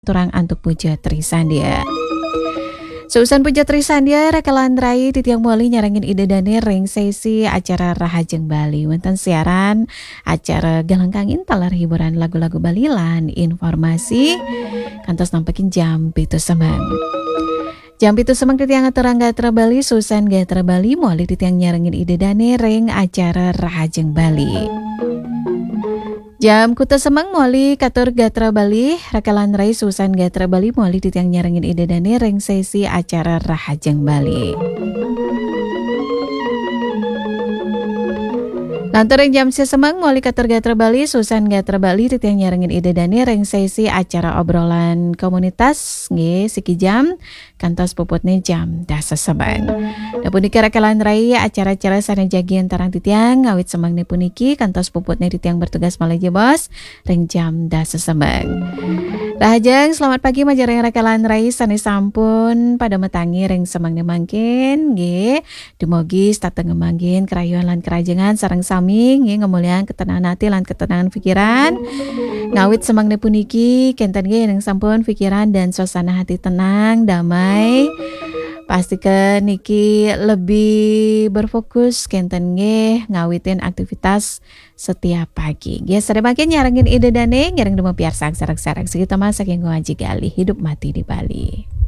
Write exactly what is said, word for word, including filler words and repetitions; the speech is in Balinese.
Turang antuk puja Trisandya. Seusan puja Trisandya, rakalan rai titiang mawali nyarengin Ida Dane ring sesi acara Rahajeng Bali. Wenten siaran acara Galengkangin taler hiburan lagu-lagu Bali lan informasi kantos nampekin jam pitu semeng. Jam pitu semeng titiang aturang gatra Bali, seusan gatra Bali mawali titiang nyarengin Ida Dane ring acara Rahajeng Bali. Jam kutus semeng mawali katur gatra Bali, rakalan rai seusan gatra Bali mawali titiang nyarengin Ida Dane ring sesi acara Rahajeng Bali. Lantur ring jam sia semeng mawali katur gatra Bali, seusan gatra Bali titiang nyarengin Ida Dane ring sesi acara obrolan komunitas, nggih, siki jam kantos puputne jam dasa semeng. Nah, punika rakalan rai acara-acara sane jagi antarang titiang ngawit semengne puniki kantos puputne titiang bertugas malih jebos ring jam dasa semeng. Rahajeng, selamat pagi majeng ring rakalan rai sane sampun pada matangi ring semengne mangkin, nggih. Dumugi setata ngamanggihin karayuan lan karahajengan sareng sami, nggih, ngamulihang ketenangan ati lan ketenangan pikiran. Ngawit semengne puniki, kenten nggih ring sampun pikiran dan suasana hati tenang, damai. Pastika niki lebih berfokus, kenten nggih, ngawitin aktivitas setiap pagi. Nggih, sare mangkin nyarengin Ida Dane, ngiring dumun piarsang sareng-sareng. Siki taman saking Aji Galih, hidup mati di Bali.